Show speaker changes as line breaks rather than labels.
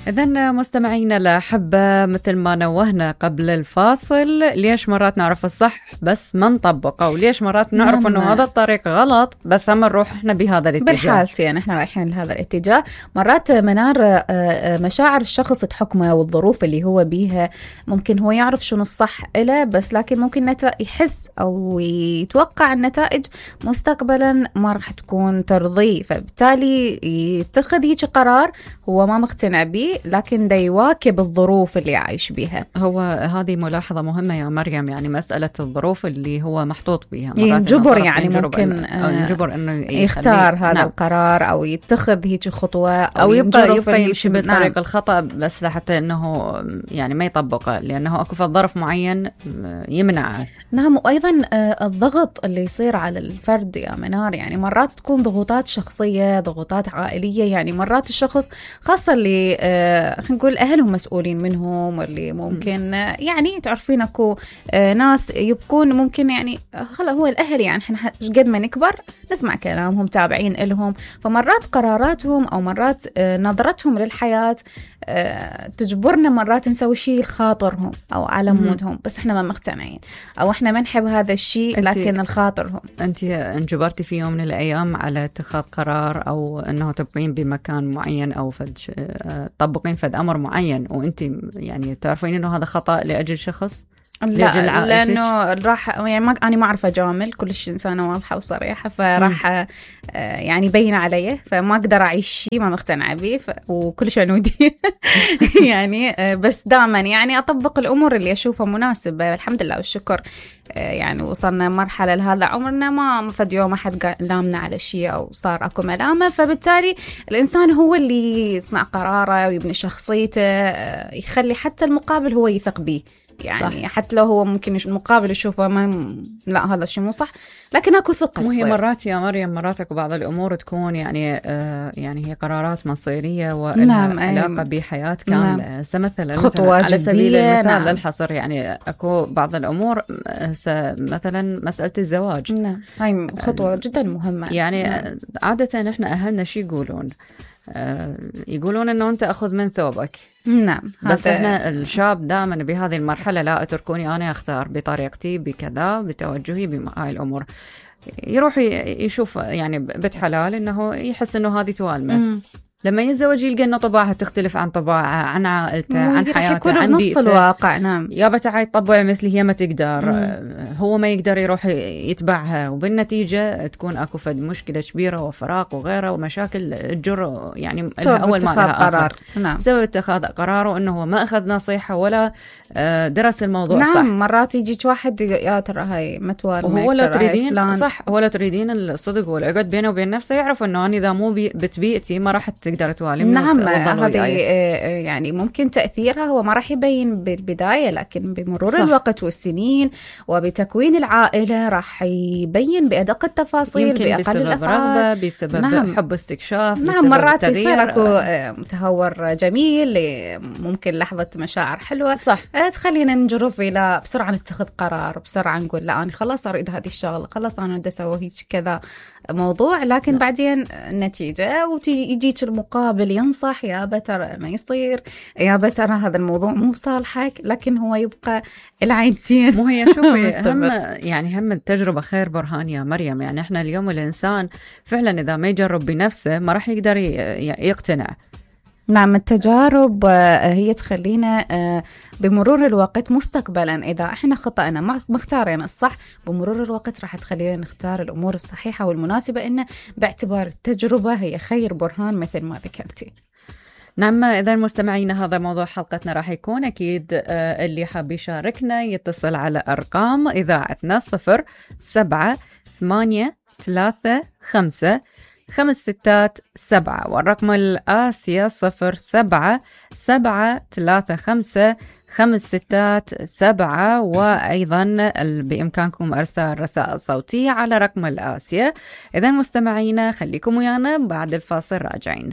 إذن مستمعينا الأحبة، مثل ما نوهنا قبل الفاصل، ليش مرات نعرف الصح بس ما نطبقه، وليش مرات نعرف إنه هذا الطريق غلط بس هم نروح إحنا بهذا الاتجاه.
بالحالتين يعني إحنا رايحين لهذا الاتجاه. مرات منار مشاعر الشخص تحكمه والظروف اللي هو بيها، ممكن هو يعرف شنو الصح إله، بس لكن ممكن يحس أو يتوقع النتائج مستقبلا ما راح تكون ترضيه، فبالتالي يتخذ هيك قرار هو ما مقتنع به، لكن دا يواكب الظروف اللي عايش بيها.
هو هذه ملاحظة مهمة يا مريم، يعني مسألة الظروف اللي هو محطوط بيها
ينجبر، يعني ممكن
ينجبر إنه
يختار هذا القرار أو يتخذ هيك خطوة
أو يبقى يمشي بالطريق الخطأ، بس لحتى إنه يعني ما يطبقه، لأنه أكو ظرف معين يمنعه.
نعم. وأيضا الضغط اللي يصير على الفرد يا منار، يعني مرات تكون ضغوطات شخصية، ضغوطات عائلية، يعني مرات الشخص خاصة اللي خلينا نقول أهلهم مسؤولين منهم، واللي ممكن يعني تعرفين أكو ناس يبقون ممكن يعني خلا هو الأهل، يعني إحنا قد ما نكبر نسمع كلامهم، تابعين إلهم، فمرات قراراتهم أو مرات نظرتهم للحياة تجبرنا مرات نسوي شيء خاطرهم أو على مودهم، بس إحنا ما مقتنعين أو إحنا ما نحب هذا الشيء، لكن الخاطرهم.
أنت انجبرتي في يوم من الأيام على اتخاذ قرار أو أنه تبقين بمكان معين أو تطبقين فد أمر معين، وأنت يعني تعرفين أنه هذا خطأ لأجل شخص؟
لا، لأنه راح يعني أنا ما أعرف أجامل، كلش إنسانة واضحة وصريحة، فراح يعني بين علي، فما أقدر أعيش شيء ما مقتنعة به، وكلش عنودي يعني بس دائما يعني أطبق الأمور اللي أشوفها مناسبة، الحمد لله والشكر. يعني وصلنا مرحلة لهذا عمرنا ما فد يوم أحد لامنا على شيء أو صار أكو ملامة، فبالتالي الإنسان هو اللي يصنع قراره ويبني شخصيته، يخلي حتى المقابل هو يثق به، يعني صح. حتى لو هو ممكن المقابل يشوفه لا هذا الشيء مو صح، لكن اكو ثقة.
وهي مرات يا مريم مرات اكو بعض الامور تكون يعني هي قرارات مصيرية ولها علاقة بحياة كاملة. مثلا على سبيل المثال للحصر، يعني اكو بعض الامور مثلا مسألة الزواج،
هاي خطوة جدا مهمة.
يعني عادة احنا اهلنا شي يقولون انه انت اخذ من ثوبك.
نعم.
بس احنا الشاب دائما بهذه المرحلة لا اتركوني انا اختار بطريقتي بكذا بتوجهي بهاي الامور، يروح يشوف يعني بنت حلال انه يحس انه هذه توالمه، لما يتزوج يلقى انه طباعها تختلف عن طباعه، عن عائلته، عن حياته، عن بيئته.
نص الواقع. نعم.
يا تعي تطبع مثلي، هي ما تقدر، هو ما يقدر يروح يتبعها، وبالنتيجة تكون اكو فد مشكلة كبيرة وفراق وغيره ومشاكل تجر يعني اول ما لها قرار.
نعم.
بسبب اتخاذ قراره انه هو ما اخذ نصيحة ولا درس الموضوع.
نعم.
صح.
مرات يجيك واحد يا ترى هاي متوالمة،
وهو لا تريدين صح، هو لا تريدين الصدق والعقد بينه وبين نفسه، يعرف انه انا اذا مو بتبيئتي ما راح تقدر توالي.
نعم. هذه يعني ممكن تأثيرها هو ما راح يبين بالبداية، لكن بمرور صح. الوقت والسنين وبتكوين العائلة راح يبين بأدق التفاصيل،
يمكن
بأقل
بسبب
الأفعال،
رغبة، بسبب حب استكشاف.
نعم. مرات يصير اكو متهور جميل، ممكن لحظة مشاعر حلوة صح تخلينا نجرف إلى بسرعة نتخذ قرار، بسرعة نقول لا أنا خلاص أريد هذه الشغلة، خلاص أنا بدي أسوي هيك كذا موضوع، لكن بعدين النتيجة ويجيك المقابل ينصح يا بتر ما يصير، يا بتر هذا الموضوع مو بصالحك، لكن هو يبقى العينتين.
مو هي شوفي هم التجربة خير برهان يا مريم، يعني احنا اليوم الإنسان فعلا إذا ما يجرب بنفسه ما راح يقدر يقتنع.
نعم. التجارب هي تخلينا بمرور الوقت مستقبلا إذا احنا خطأنا مختارين الصح، بمرور الوقت راح تخلينا نختار الأمور الصحيحة والمناسبة، إنه باعتبار التجربة هي خير برهان مثل ما ذكرتي.
نعم. إذا مستمعينا هذا موضوع حلقتنا راح يكون أكيد اللي حاب يشاركنا يتصل على أرقام إذاعتنا 07-835-567 والرقم الآسيا 07-735-567 وأيضا بإمكانكم أرسال رسائل صوتية على رقم الآسيا. إذا مستمعينا خليكم ويانا بعد الفاصل راجعين.